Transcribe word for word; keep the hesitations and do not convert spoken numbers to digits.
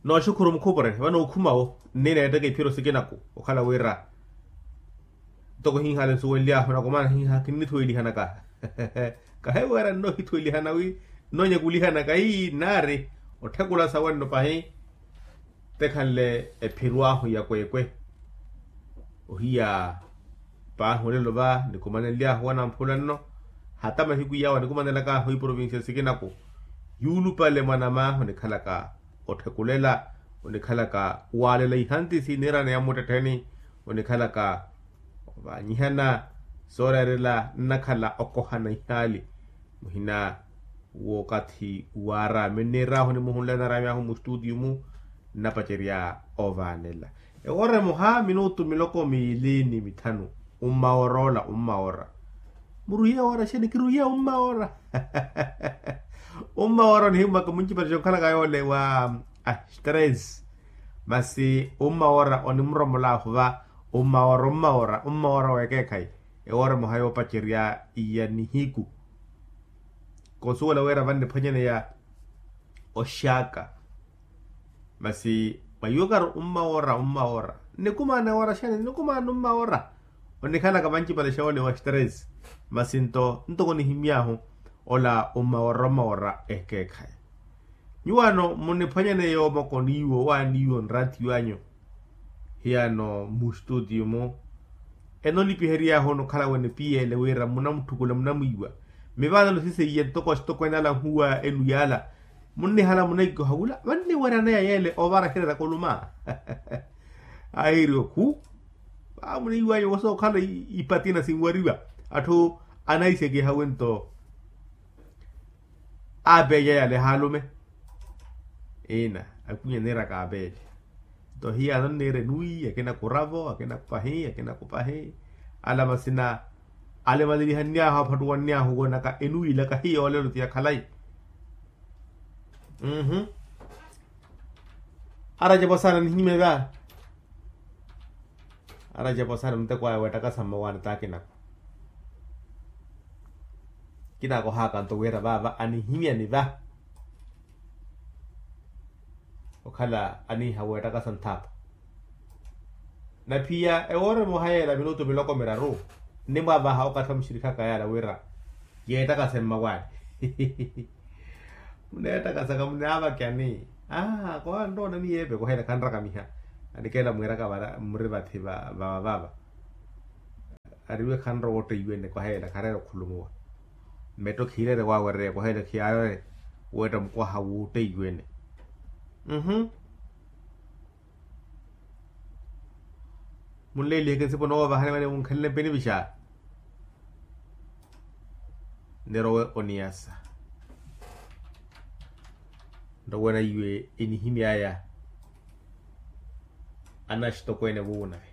Nooxukhuru mukhupure vano okhumawo nniina yeettaka iphiro sikinaku okhala wira ntoko hiihale nsuwenly'ahu nakumana hiiha kinnithuwelihanaka. Kahiwera nnohithuwelihana wi nnonyakulihanaka ii nnaari otthekula sawe nno pahi. Tekhanle ephiro ahu ya kweekwe ohiya paahi olelo va nikumanenly'ahu wanamphula nno. Hata mahiku yawe anikumanelaka ahu iprovincia sikinaku yuulupale mwanam'ahu onikhalaka otthekulela onikhalaka waalela ihantisi niirana ya mmuttettheni onikhalaka ovaanyihana sooreerela nnakhala okohana ihaali. Muhina w'okathi waaraami nniir'ahu nimuhunle anaraami ahu mustutiyu-mu nnapacerya ovaanela ewoora emoha minutu miloko miili ni mithanu. Ummawoora ola ummawoora muruhiya woora xeeni kiruhiya ummawoora. Ummawoora onihimmaka muncipale xoonkhalaka yoole wa astress masi ummawoora onimuromol'ahu va ummawoora ummawoora ummawoora w'ekeekhayi ewoora emoha yoopacerya ya nihiku. Konsuwela wira vanniphwanyaneya oxaaka masi mwa iwakari ummawoora ummawoora nnikumaana ewoora xeeni nnikumaana ummawoora. Onikhalaka vancipale xoolewa stress masi nto ntoko nihimy'ahu ola ummawoora ummawoora ekeekhayi. Nyuwaano munniphwanyaneya omoko niiwo waaniiwo nraatiyo anyu hiyano mustutiyo-mu enolipihery'ahu onokhala wene piyele wira munamutthukulela munamwiiwa. Mivaano siseiye ntoko axitokweene ala nhuwa enu yaala munnihala munaikoha wula vanniweryaneya yeele ovara xereera koluma. Ahiiri okhu vamuniiwanyu wosa okhala ipatina sinwariwa atthu anahisekiha wento aapeeca yale haalume. Ina akwinya niiraka apeeca nto hiyano nniira enuwi akina kuravo akina kupahi akina kupahi. Ala masina alemalelihanny'ahu aphattuwanny'ahu woonaka enuwi laka hiyo olelo ti ya khalayi. Aracepo saana nihinyimya va. Aracepo saana muteko aya weettakasa mmawaani t'akinaku. Kinakohaka nto wira vaava anihimyani va okhala aniiha weettakasa nthaapa. Na phiya ewoora emoha yeela minutu miloko miraru nnimwavaha okathi amuxirikhaka yaala wira yeettakase mmawaani. Muneettakasaka munaavakyani. Aa koha nroona miyeepe koheela khanrakamiha. Anikeela mwiiraka vara mmuri vathi vavavava. Ariwe khanrowa otteiwene koheela khareera okhulumuwa. Metto khiireere waawereya koheela khiyaareere weetta mukwaha wootteiwene. Munleeliheke nsipo noovahani mane munkhanle mpeni vixa. Nirowe oniyasa nrowe na iwe enihimy'aya. Anaxitokweene wuunawe